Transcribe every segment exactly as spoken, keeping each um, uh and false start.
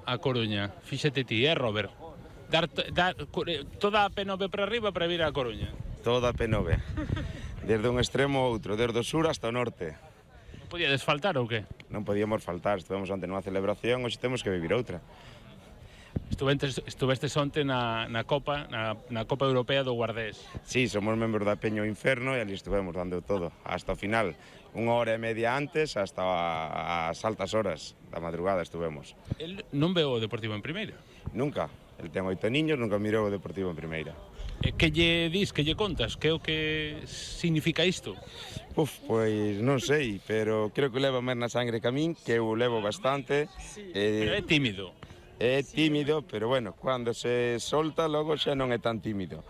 a Coruña? Fíxate ti, eh, Robert? Dar, dar toda a P nove para arriba para vir a Coruña. Toda a P nove. Desde un extremo a outro, desde o sur hasta o norte. Non podíades faltar ou que? Non podíamos faltar, estivemos onte nunha celebración, hoxe temos que vivir outra. Estuvestes, estuvestes onte na, na Copa, na, na Copa Europea do Guardés. Sí, somos membros da Peña o Inferno e ali estuvemos dando todo, hasta o final. Unha hora e media antes, hasta as altas horas da madrugada estuvemos. El non veo o Deportivo en primeira? Nunca. El ten oito niños, nunca mirou o Deportivo en primeira. E que lle dis, que lle contas? Que é o que significa isto? Uf, pois non sei, pero creo que leva máis na sangre que a min, que eu levo bastante. Sí, eh, pero é tímido. É tímido, pero bueno, cando se solta logo xa non é tan tímido.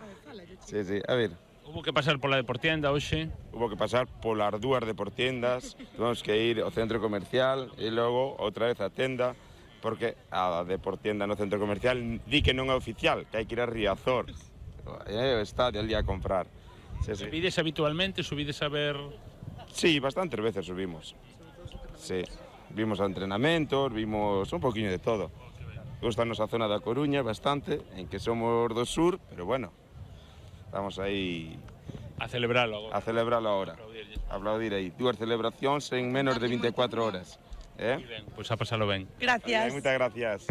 Sí, sí, a ver. Hubo que pasar pola Deportienda hoxe. Hubo que pasar polas dúas Deportiendas, tuvemos que ir ao centro comercial e logo outra vez á tenda, porque a Deportienda no centro comercial di que non é oficial, que hai que ir a Riazor, é o estadio ali a comprar. Sí, sí. Subides habitualmente, subides a ver... Sí, bastantes veces subimos. Sí, vimos entrenamentos, vimos un poquinho de todo. Gustanos a zona da Coruña bastante, en que somos do sur, pero bueno, estamos aí... A celebralo agora. A celebralo agora. Aplaudir aí. Dúas celebracións en menos de vinte e cuatro horas. Eh? Ben, pois a pasalo ben. Gracias. Moitas gracias.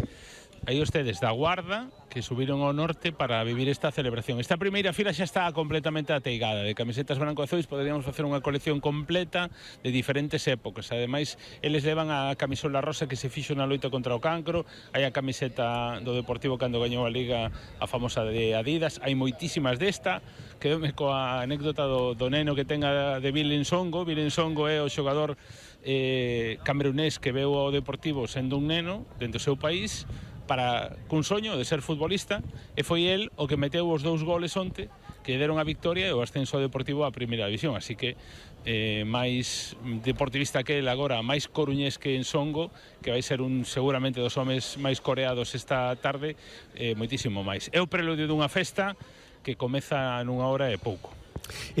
Aí ustedes da Guarda que subiron ao norte para vivir esta celebración. Esta primeira fila xa está completamente ateigada de camisetas branco e azuis. Poderíamos facer unha colección completa de diferentes épocas. Ademais, eles levan a camisola rosa que se fixo na loita contra o cancro. Hai a camiseta do Deportivo cando gañou a Liga, a famosa de Adidas. Hai moitísimas desta. Quedoume coa anécdota do, do neno que tenga de Vilen Songo. Vilen Songo é o xogador eh, camerunés que veu ao Deportivo sendo un neno dentro do seu país para cun soño de ser futbolista, e foi el o que meteu os dous goles onte que deron a victoria e o ascenso ao Deportivo á primeira división, así que eh, máis deportivista que el agora, máis coruñés que en Songo, que vai ser un seguramente dos homes máis coreados esta tarde, eh, moitísimo máis. É o preludio dunha festa que comeza nunha hora e pouco.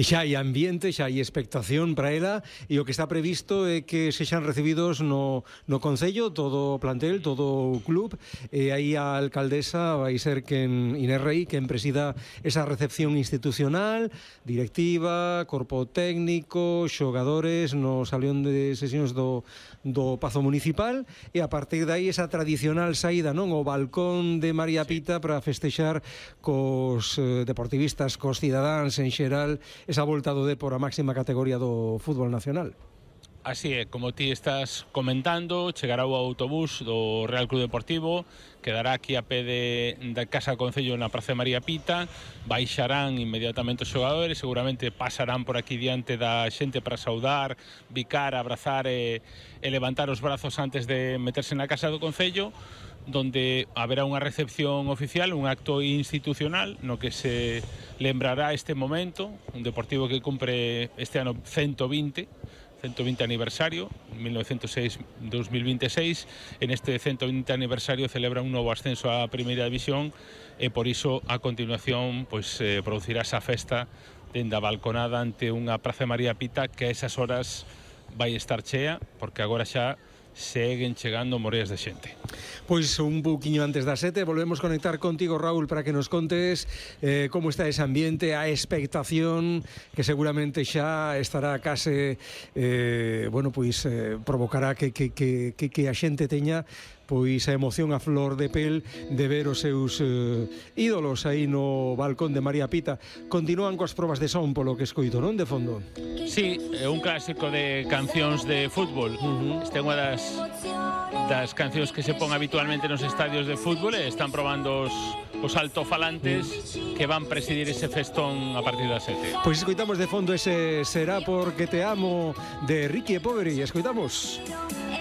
E xa hai ambiente, xa hai expectación para ela, e o que está previsto é que sexan recibidos no, no Concello todo o plantel, todo o club, e aí a alcaldesa vai ser quen, Inés Rei, quen presida esa recepción institucional, directiva, corpo técnico, xogadores no salón de sesións do, do Pazo Municipal, e a partir de aí esa tradicional saída, non, o balcón de María Pita para festexar cos eh, deportivistas, cos cidadáns en xeral, esa volta do Depor á máxima categoría do fútbol nacional. Así é, como ti estás comentando, chegará o autobús do Real Club Deportivo, quedará aquí a pé de, da Casa do Concello na Praza de María Pita, baixarán inmediatamente os xogadores, seguramente pasarán por aquí diante da xente para saudar, bicar, abrazar e, e levantar os brazos antes de meterse na Casa do Concello, donde haberá unha recepción oficial, un acto institucional no que se lembrará este momento, un Deportivo que cumpre este ano ciento vinte aniversario, mil novecientos seis a dos mil veintiséis. En este ciento vinte aniversario celebra un novo ascenso á primeira división e por iso a continuación pois eh, producirá esa festa dende a balconada ante unha Praza de María Pita que a esas horas vai estar chea, porque agora xa seguen chegando moreas de xente. Pois un pouquiño antes das sete volvemos conectar contigo, Raúl, para que nos contes eh, como está ese ambiente, a expectación que seguramente xa estará case eh, bueno, pois eh, provocará que, que, que, que, que a xente teña pois a emoción a flor de pel de ver os seus eh, ídolos aí no balcón de María Pita. Continúan coas probas de son polo que escoito, non, de fondo? Sí, é un clásico de cancións de fútbol. Uh-huh. Esta é unha das, das cancións que se pon habitualmente nos estadios de fútbol e están probando os, os altofalantes uh-huh. que van presidir ese festón a partir das sete. Pois escoitamos de fondo ese Será porque te amo de Ricky e Poveri. Escoitamos.